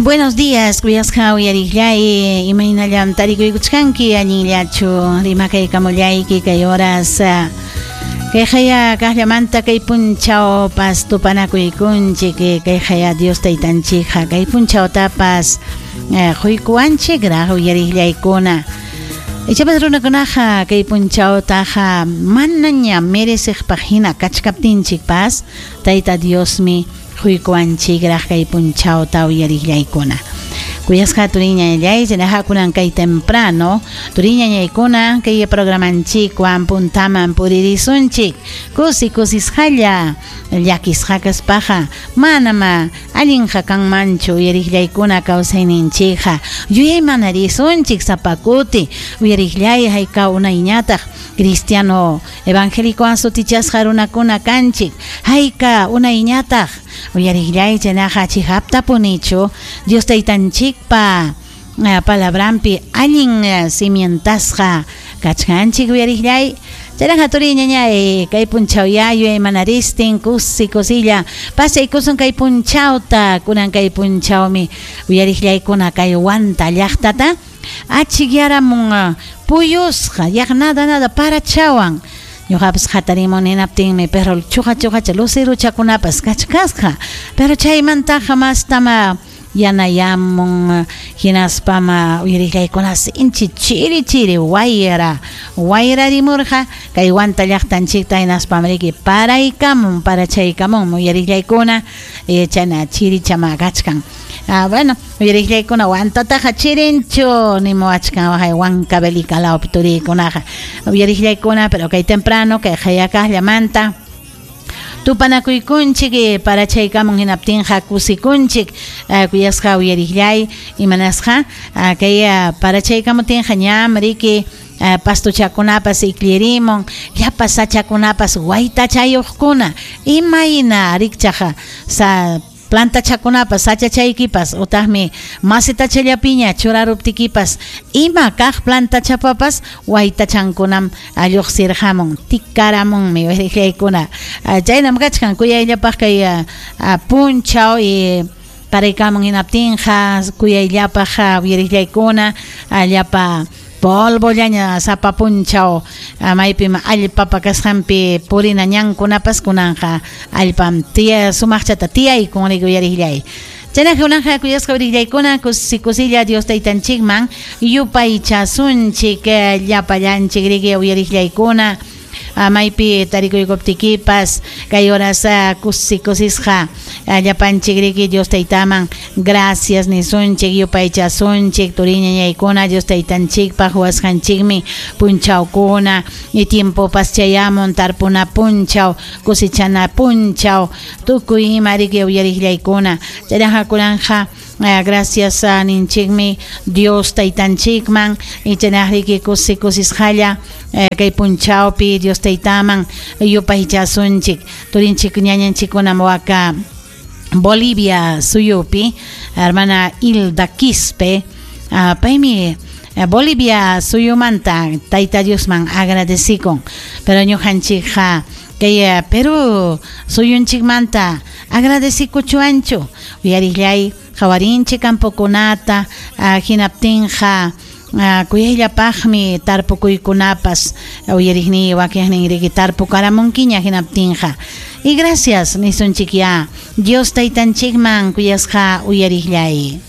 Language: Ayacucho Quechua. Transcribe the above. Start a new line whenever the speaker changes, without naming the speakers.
Buenos días, kuyasqa uyariqllay, imaynallam tarikuykuchkanki, allinllachu rimakaykamullayki kay horas. Kayqaya kaqllamanta kay punchawpas tupanakuykunchik, kayqaya Dios taytanchikqa kay punchawtapas quykuwanchikraq uyariqllaykuna. Ichapas runakunaqa kay punchawtaqa manaña mereceqpaq hina kachkaptinchikpas Tayta Diosmi quykuwanchikraq kay punchawta uyariqllaykuna. Kuyasqa turiñañallay, chaynaqa kunan kay temprano turiñañaykuna kay programanchikwan puntaman puririsunchik. Kusi kusisqalla llakisqa kaspaqa manam allinqa kanmanchu uyariqllaykuna kawsayninchikqa. Yuyaymanarisunchik sapa kuti uyariqllay hayka unayñataq cristiano evangélicowan sutichasqa runakuna kanchik hayka unayñataq uyariqllay chaynaqa chiqaptapunichu Dios taytanchikpa palabranpi allin cimientasqa kachkanchik uyariqllay chaynaqa turiñañay kay punchaw ya yuyaymanaristin kusi kusilla pasaykusun kay punchawta kunan kay punchawmi uyariqllaykuna kay Huanta llaqtata achikyaramun puyusqa yaq nada nada parachawan ñuqapas hatarimun hinaptinmi pero chuqa chuqacha lucerochakunapas kachkasqa pero chaymantaqa mastama yanayamun hinaspam uyariqllaykuna sinchi chiri chiri wayra wayrarimurqa kay Huanta llaqtanchikta hinaspam riki paraykamun parachaykamun uyariqllaykuna chayna chirichama kachkan. Bueno, uyariqllaykuna Huantataqa chirinchu nimuwachkan waqay Huancavelica lawpi turiykunaqa uyariqllaykuna pero kay temprano kay qayakaqllamanta tupanakuykunchik parachaykamun hinaptinqa kusikunchik kuyasqa uyariqllay imanasqa kay parachaykamutinqa ñam riki pastochakunapas ikllirimun llapa sachakunapas waytachayuqkuna imayna rikchaq sa plantachakunapas sachachaykipas utaqmi macetachallapiña churaruptikipas ima kaq plantachapapas waytachankunam lluqsirqamun tikaramunmi uyariqllaykuna chaynam kachkan kuyayllapaq kay punchaw y paraykamun hinaptinqa kuyayllapaq uyariqllaykuna llapa polvollaña sapa punchaw maypim allpapa kasqanpi purina ñankunapas kunanqa allpam tiya sumaqchata tiyaykun riki uyariqllay. Chaynaqa kunanqa kuyasqa uyariqllaykuna kusi kusilla Dios taytanchikman yupaychasunchik llapallanchik riki uyariqllaykuna maypi tarikuykuptikipas kay horas kusi kusisqa llapanchik riki Dios taytaman gracias nisunchik yupaychasunchik turiñañaykuna Dios taytanchikpaq huwasqanchikmi punchawkuna y tiempopas chayamun tarpuna punchaw kusichana punchaw tukuy ima riki uyariqllaykuna chaynaqa kunanqa gracias ninchikmi Dios taytanchikman y chaynaq riki kusi kusisqalla kay punchawpi Dios taytaman yupaychasunchik turinchik ñañanchikkunam waka Bolivia suyupi hermana Hilda Quispe paymi Bolivia suyumanta tayta Diosman agradecikun pero ñuqanchikqa kay Perú suyunchikmanta agradecikuchuanchu uyariqllay qawarinchik campokunata hinaptinqa kuyayllapaqmi tarpukuykunapas uyariqniy wakiqnin riki tarpukaramunkiña hinaptinqa y gracias nisunchik ya Dios taytanchikman kuyasqa uyariqllay.